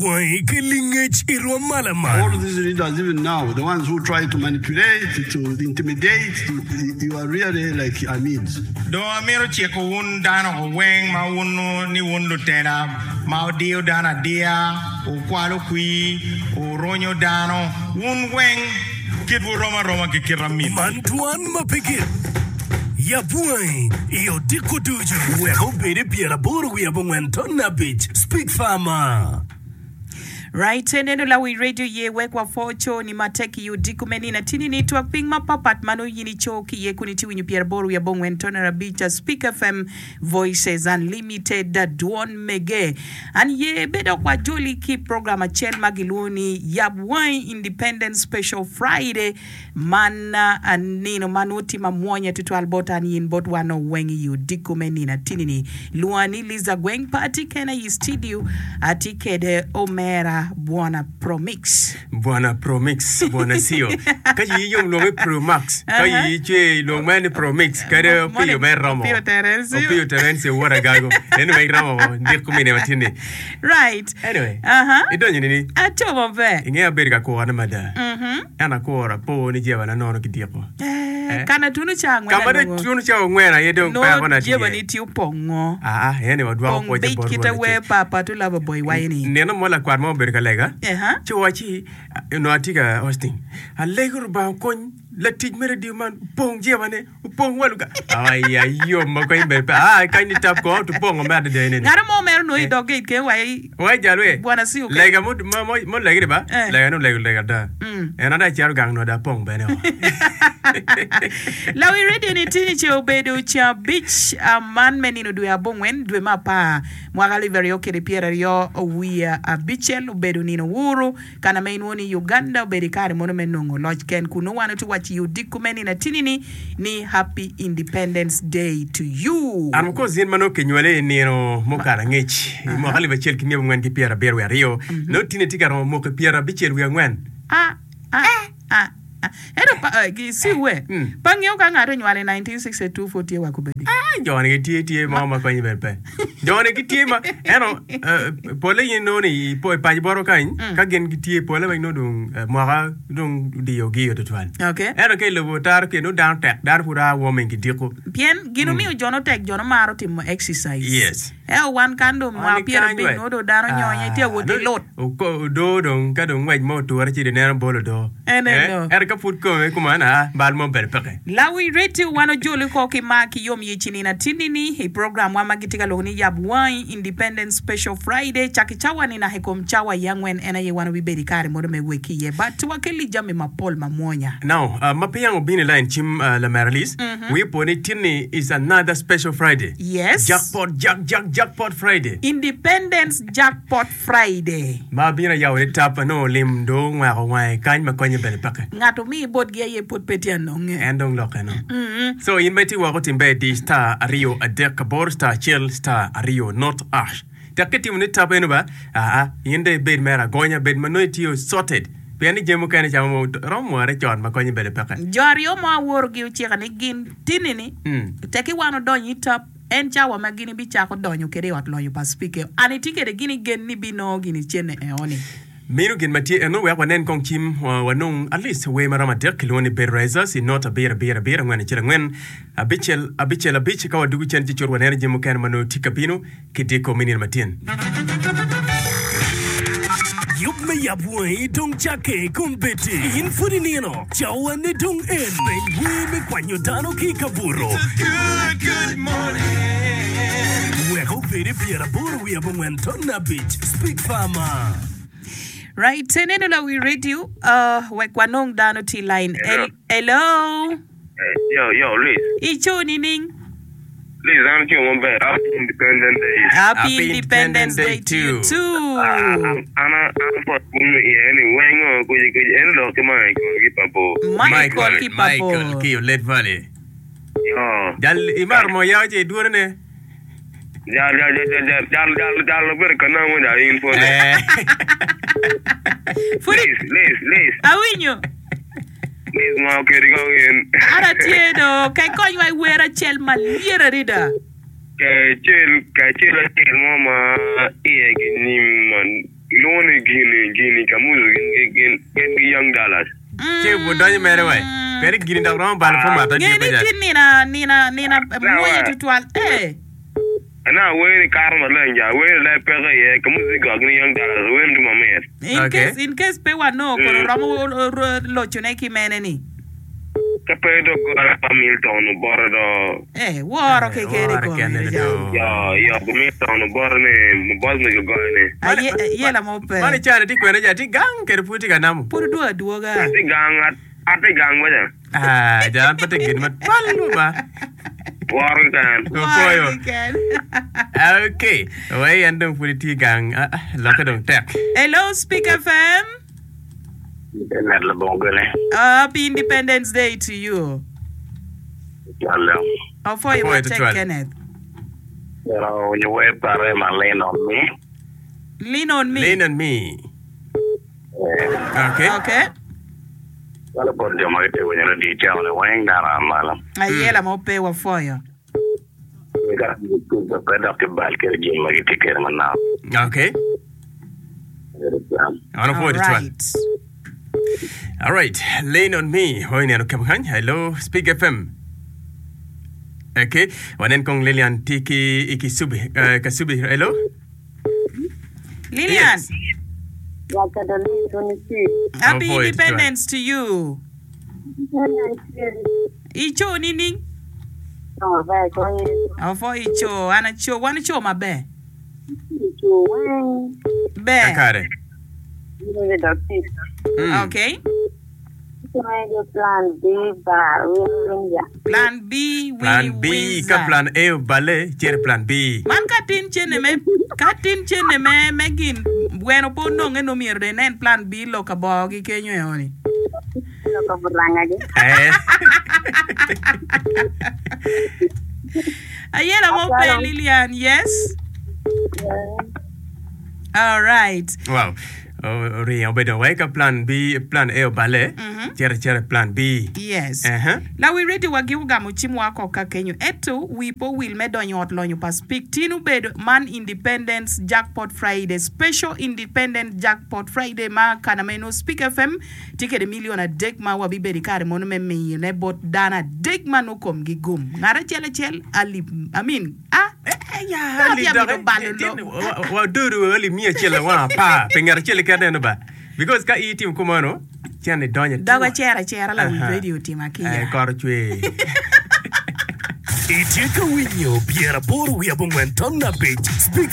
Wangi ki lingec i rwom ma lamal. All these leaders even now, the ones who try to manipulate, to intimidate, to, you are really like Amids. Dong amito ciko wun dano weng ma wunnu ni wun lutela ma wudiyo dano adiya, wukwalo kwir, wurunyo dano, wun weng kitwu rom aroma ki kit amin. Man twan ma pe gik. Yab wangi i odiko ducu wek obed i pyeraboro wiye abongwen ton abic. Speak Farmer. Right, eneno lawi radio ye wek wapwo co ni matek i odiko me nino atini ni twak piny mapapat ma nongo yin ico ki iye kun itye winyo pyeraboro wiye abongwen ton arabic Speak FM Voices Unlimited dwon mege. An ye be dok wajoli ki program acel ma gilwongo ni Yab Wangi Independence Special Friday Man nino ma nongo tye mamwonya tutwal bot an yin bot wan weng i odiko me nino atini ni. Lwonga ni Liza Gweng pe atye kena i studio atye kede omera Bwana Promix. Bwana Promix, Bwana Sio. Ka yi yom lwongo ni Promax, ka yi cwe lwong mere ni Promix, kadi Opiyo mere romo. Opiyo Terencio. Opiyo Terencio wod Agago. Eno wek romo diko mine matini. Right. Anyway, Aha. idonyo nini? Aco maber. Ingeyo abedo ka kurane mada. Ento akuro apo ni jebana nono ki diko. Eh, kana tunu ca angwen Ka ma dong anongo. tunu ca ongwen aye dong Nongo pekona tye. jebani tye opongo. Aa, eni wadwoko Pong pwocce bic bot kite Rwot wer acel. pa pa Tulaba Boy wayo ni. Nino mo lakwat mo obedo ka lega, Aha. ci owacci, Onongo atye ka hosting. Alego Rubanga okony latic me radio man opong jebane. Opong wa luga. Ai ayom ma kony ber pe. Ah kany ni tap ko to pongo me adada ene. Ngaro mo mero no i dog gate ke wa i. Wa jalwe. Bwana si oke. Lega mo mo mo mo legi ba. Eh. Lega no lego lega da. Mm. En ada cero gang no da pong bene o. Lawi radio ni tini ce obedo cabic man me nino dwe abongwen dwe me apar mwaka alip aryo kede pyeraryo wiye abicel obedo nino wuru Kana ma inwongo ni Uganda obedo i kare mono me nongo loc ken kun nongo wan watye waco i odiko me nino atini-ni ni Happy Independence Day to you. And of course in ma nongo kinywali i nino mukato angec i mwaka alip acel ki myabongwen ki pyerabiro wiye aryo nongo tini itye ka romo mwaki pyerabicel wiye angwen. Ah, ah, ah, ah. Ento pa, eh, gi- si we, pa ngeyo ka ngat onywalo i 1962 pud tye wa kobedi. Ah, jo-ni gitye tye mo ma konye bene pe. Jo-ni gitye ma ento eh, polle in inongo ni i po- i paco botwa kany ka gin gitye polle weng nongo dong eh, mwaka dong odiyogi tutwal. Okay. Ento ka i lobo otaro kede nongo dano tek, dano pud a warming ki diko. Pien gin omiyo jo no tek jo no maro timo exercise. Yes. Ento wan kan dong mwaka pyerabic nongo dong dano nyonye tye ka wot ki lut. Odoo dong ka dong ngwec mo oture ci ineno bol odoo. Ento ka pud kome kuman aa bal mo bene peke. Lawi Radio wan ojoli oko ki mar ki yom yic i nino atinni-ni i program wa ma gitye ka lwongo ni Yab Wangi Independence Special Friday cak i cawa ni naka i kom cawa i angwen en aye wan wabibedo i kare mono me wek iye but wakelli jami mapol mamwonya. Now, ma peya obino i line cim lamera Liz, Wi opo ni tin-ni is another special Friday. Yes. Jackpot, jack, jack, jackpot Friday. Independence Jackpot Friday. Ma abino ayabo ni tap anongo lim do ongweko wange kany ma konye bene peke. Ngat omi botgi aye pwod pe tye anonge. En dong lokke no. So in ma itye woko tim ber di star aryo adek aboro star acel star aryo not ash. Tek ki timo ni tap eno ba, aa, in dong ibed mere agonya, bed ma nongo itye sorted. Pien ni jami mukene camo mo romo mwore con ma konye bene peke. Jo aryo mo aworogi ocika ni gin tini-ni, tekki wan odonyo i tap, en cawa ma gin ibicako donyo kwede i ot lonyo pa Spike. An itye kwede gin i gen ni ibinongo gin i cene eoni. Meno gin ma tye eno wek wanen kong cim wanong at least wer maromo adek kilwongo ni Bed Risers i not abiro abiro abiro angwen acel angwen abicel abicel abic ka wadugo cen ci cut waneno jami mukene ma nongo tye ka bino ki dyekor me nino matin. Yub me yab wangi dong cakke kombeddi. In pud inino, cawane dong en. Peny wer me kwanyo dano ki i kabuto. Wek obed i pyeraboro wiye abongwen ton abic. Speak Farmer. Right, ineno lawi radio, uh, wek wanong dano tye i line. Hello. Hello. Yo, yo, Liz. Ico nining? Liz, an atye maber. Happy Independence Day. Happy Happy Independence Day to you too. Ah, an an an pot kun iye ni wengo kuji kuji en lok ki Michael ki pa bor. Michael ki pa Michael bor. ki Olet Valley. Yo. Jal imaro mo yao ce idwone ne. Jal jal jal jal jal jal jal jal obedo ka nongo jal in pwod. Eh. Pud Liz, Liz, Liz. awinyo. Liz ngo kedi kong in. An atye do, ka ikonywa i wer acel malyet adada. Kacel kacel acel mo ma iye ki nyim ma. Gilwongo ni Gini, Gini, Kamuzu gin gin gin ki Young Dallas. Ce odonyo mere wai. Pien ni gini dok romo balo pud mato Nge tye ni pe tye nina nina nina mwonya tutwal. Eh. Ana wer ni kato maleng ja, wer ni leb peke iye, Kamuzu gok gin ki Young Dallas, wer ni tye mamit. In Okay. case in case pe wanongo kono romo locone ki mene ni. Ka pe dong goro pa Milton obote do. Eh, woro keken i Woro kome kene ni do. jang. Yo, yo, ko Milton obote ni, bot me gogoyo ni. Aye, yela mo pe. Man icane tye kwene ja, tye gang kede pud tye ka namo. Pud odwogo adwoga. Atye gang, atye gang waca. Ah, ja an pe tye gin ma twal ba. Woro keken. Woro Opwoyo. keken. Okay, wai en dong pud itye gang. Ah, ah, lokke dong tek. Hello, Speak FM. Internet labongo gene. Happy Independence Day to you. Cwalo. Opwoyo Apwoyo matek tutwal. Kenneth. Pero winyo wer pare ma lean on me. Lean on me. Lean on me. Eh, Okay. Okay. Cwalo bot jo ma gitye winyo radio cawa ni weng dano a malo. Ayela mo pe wapwoyo. Ka pe dok kibal kwede gin ma gitye kwede manok. Okay. An opwoyo tutwal. Alright. Alright, lean on me. Hoi neno kemo kany. Hello, Speak FM. Okay, wanen kong Lilian tye ki i Kisubi. Uh, Kasubi, hello. Lilian, Yes. happy Opwoyo tutwal. independence to you. Ico nining? Opwo ico, an aco, wan oco maber. Ber. Kakare. Mm. Okay. Plan B, Plan Winnie B, ka Windsor. plan A oballe, cit i plan B. Man ka tin cene me ka tin cene me me gin gweno pe ononge nongo myero dong inen plan B lok ka bongo gi kenyo eo ni. Eh. Ayela mo pe Lilian, yes. All right. Wow. Oringo obedo wai ka plan B, plan A oballe, cito acita i plan B. Yes. Aha. Lawi radio wa giko gamo cim wa ko ka kenyo ento wi pe owil me donyo i ot lonyo pa Speke tin obedo man Independence Jackpot Friday Special Independent Jackpot Friday ma kana meno Speke FM tye kede million adek ma wabibedo i kare mono me miyone bot dano adek ma nongo komgi gum ngat acel acel alip I mean a Ya, alip Dok dok, amito balo tin, lok. wa- wa- wadodo alip miya acel awang apar pi ngat acel keken eno ba. Because ka in itimo kumeno, cen idonyo Dog atura. acer acera lawic Aha. radio otimo Eh, akica. kor ocwer. Itye ka winyo 85.5 Speak.